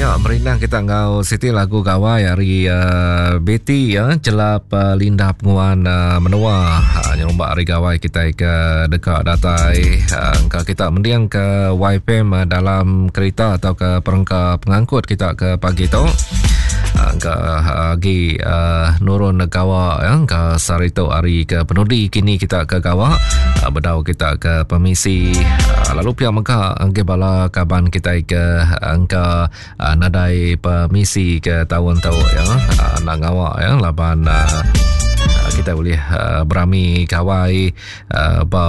nya merindang kita enggau siti lagu gawai ari uh, Betty ya celap uh, Linda Penguan uh, menua uh, nyerumba hari gawai kita ke deka datai uh, engka kita mending ke YFM uh, dalam kereta atau ke perengka pengangkut kita ke pagi tu. Uh, engka agi uh, nurun gawa ya engka sehari tu hari ke penudi kini kita ke gawa uh, bedau kita ke permisi uh, lalu pia mega engke bala kaban kita ke engka uh, nadai permisi ke taun tu ya uh, nak ngawa ya laban uh, kita boleh uh, berami gawai uh, ba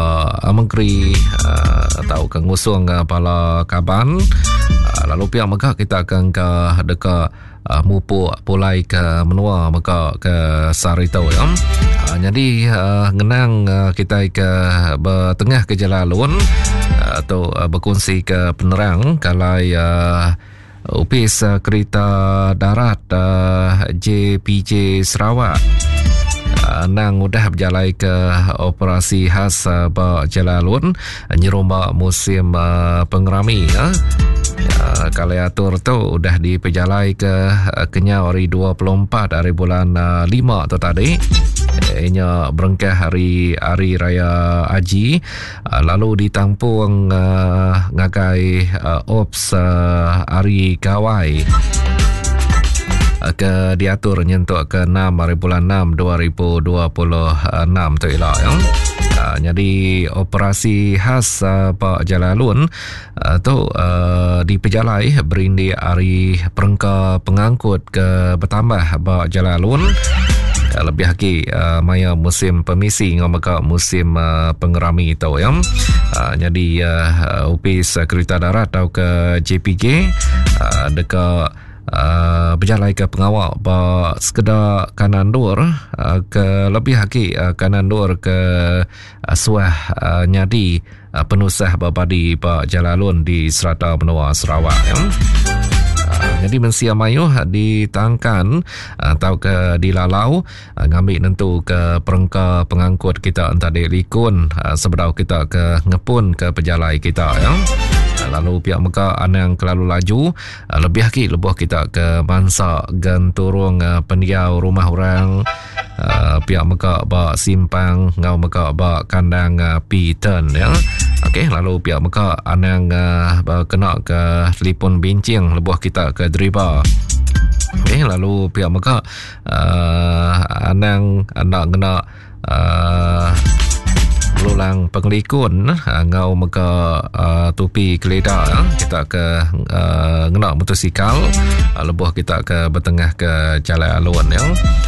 menteri uh, atau ke ngusung uh, bala kaban uh, lalu pia mega kita ke engka deka uh, mupuk pulai ke menua mega ke sehari tu ya. Uh, jadi uh, ngenang uh, kita ke bertengah ke jalan alun uh, tu uh, berkongsi ke penerang kalau uh, Opis uh, Kereta Darat uh, JPJ Sarawak uh, nang udah berjalai ke operasi khas uh, ba jalan alun nyerumba musim uh, pengerami ya. Uh, kali atur tu udah dipejalai ke uh, kenyau hari 24 hari bulan uh, 5 tu tadi. Inya berengkah hari hari raya Haji uh, lalu ditampung uh, ngagai uh, ops uh, hari Gawai uh, ke diatur nyentuk ke 6 hari bulan 6 2026 tu ila ya. Uh, jadi operasi khas uh, Pak Jalalun uh, tu uh, dipejalai berindik hari perengka pengangkut ke bertambah ba Jalalun uh, lebih lagi uh, maya musim permisi ngau mega musim uh, pengerami tu ya. Uh, jadi uh, upis kereta darat atau ke JPJ uh, deka uh, bejalai ke pengawa ba sekeda kanan dur uh, ke lebih agi uh, kanan dur ke uh, suah uh, nyadi uh, penusah bebadi ba jalalun di serata menua Sarawak ya. Uh, jadi mensia mayuh ditangkan atau ke dilalau ngambi nentu ke perengka pengangkut kita entadi likun sebedau kita ke ngepun ke pejalai kita ya. Lalu pihak mega anang kelalu laju lebih agi lebuh kita ke mansa genturung pendiau rumah orang pihak mega ba simpang enggau mega ba kandang P-turn ya. Okey lalu pihak mega anang kena ke telefon bincing lebuh kita ke deriba. Okey lalu pihak mega uh, anang enda ngena uh, belulang pengelikun uh, ngau mega uh, tupi kelida uh, kita ke uh, ngena motosikal uh, lebuh kita ke bertengah ke jalan alun ya.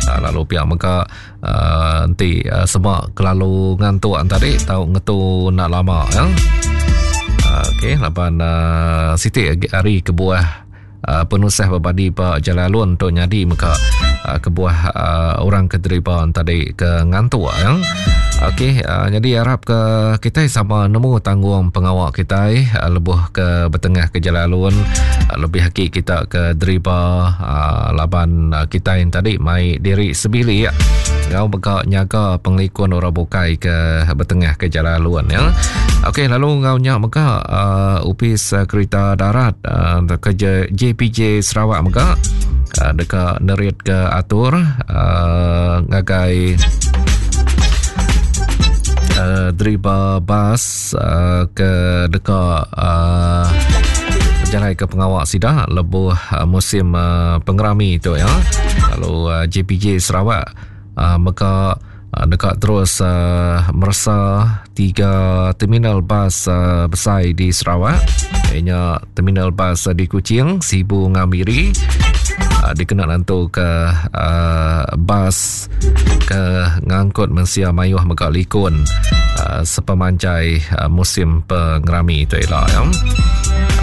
Uh, lalu pihak mega uh, enti uh, semak kelalu ngantuk tadi tau ngetu nak lama ya. Uh, okey laban uh, siti hari kebuah uh, penusah bebadi ba Jalai Alun tu nyadi mega uh, kebuah uh, orang ke deriba tadi ke ngantuk ya. Okey, uh, jadi harap ke kita sama nemu tanggung pengawa kita uh, lebuh ke bertengah ke Jalai Alun uh, lebih lagi kita ke deriba uh, laban uh, kita yang tadi mai diri sebilik ngau mega nyaga pengelikun orang bukai ke bertengah ke Jalai Alun ya. Okey, lalu ngau nya mega uh, upis uh, kereta darat uh, ke JPJ Sarawak mega uh, deka nerit ke atur uh, ngagai uh, driba bas uh, ke deka uh, berjalai ke pengawak sida lebuh uh, musim uh, pengerami tu ya. Lalu uh, JPJ Sarawak uh, mega uh, deka terus uh, meresa tiga terminal bas uh, besai di Sarawak ianya terminal bas uh, di Kuching, Sibu dengan Miri uh, dikena nentu ke uh, bas ke ngangkut mensia mayuh mega likun uh, sepemanjai uh, musim pengerami tu ila ya.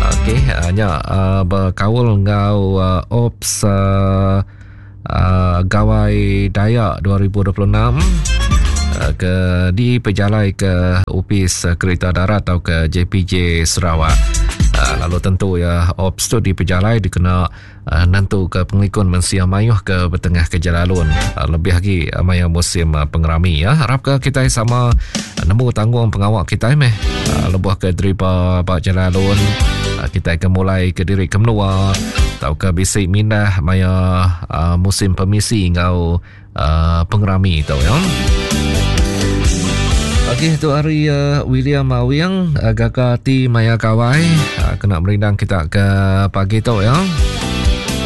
Okey, uh, nya uh, berkaul enggau uh, ops uh, uh, Gawai Dayak 2026 uh, ke dipejalai ke Opis Kereta Darat atau ke JPJ Sarawak. Uh, lalu tentu ya ops tu dipejalai dikena uh, nentu ke pengelikun mensia mayuh ke bertengah ke jalalun uh, lebih lagi uh, maya musim uh, pengerami ya. Harap ke kita sama uh, nemu tanggung pengawak kita meh uh, lebuh ke deriba ba jalalun. Kitai ke mulai ke diri ke menua tauka bisi mindah maya musim pemisi enggau pengerami tu ya. Okey tu hari William Awing gaga ati maya gawai kena merindang kita ke pagi tu ya.